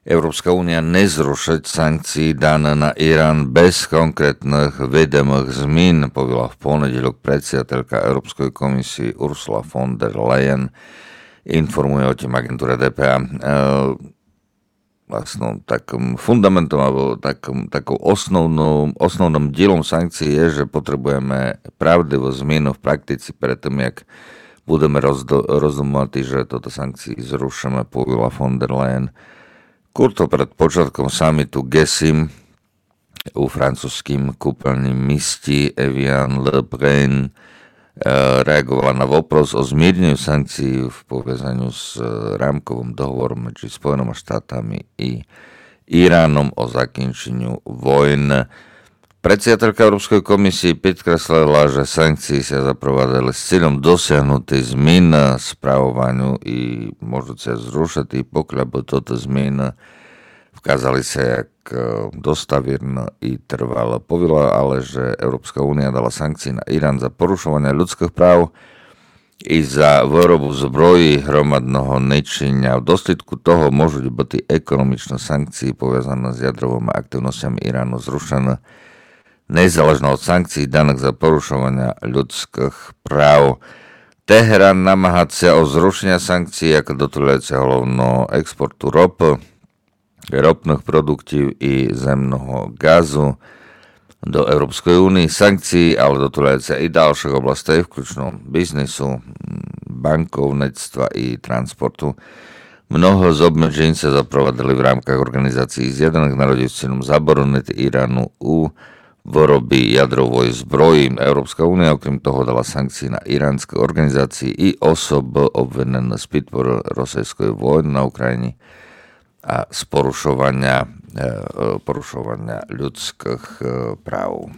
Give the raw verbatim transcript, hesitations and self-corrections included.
Европска уния не зрушить санкциі дане на Иран без конкретных видимых змін, повіла в понеділок предсєдателька Европской комисиі Урсула фон дер Леєн. Інформує о тім агентура Д П А. Е, властно, такым фундаментом або такым, таков основнов, основным дїлом санкциі є, же потребуєме правдиву зміну в практици перед тым, як будеме роздо-, роздумовати, же тото санкциі зрушиме, повіла фон дер Леєн. Курто перед початком саміту Ґе сім у французькім купелнім місті Евіан-ле-Брен, е, реаґовала на вопрос о змірню санкциі в повязаню з, е, рамковым договором меджі Споєныма штатами і Іраном о закінченю войн. Предсєдателька Европской комисиі підкреслила, же санкциі ся запровадили з цїльом досягнути змін справованю і можуть ся зрушити, покля бы тото зміны вказали ся як, е, доставірно і трвало. Повіла але, же Европска уния дала санкциі на Иран за порушованя людскых прав і за выробу зброї громадного нищеня. В дослїдку того можуть быти економічны санкциі повязані з ядровыма активносцями Ірану зрушены, незалежно од санкциі даных за порушованя людскых прав. Тегеран намагать ся о зрушеня санкциі, як дотуляюци головно експорту ропы, ропных продуктів і земного ґазу до Европской униі. Санкциі але дотуляюци і далшых областей, включно бізнесу, м, банковництва і транспорту. Много з обмеджень ся запровадили в рамках Орґанізациі Зєднаных народів з цїльом заборонити Ірану у выробі ядровой зброї. Европска уния, окрім того, дала санкциі на іраньскы орґанізациі і особы обвинены з підпоры російской войны на Україні а з порушованя, е, е, порушованя людскых, е, прав.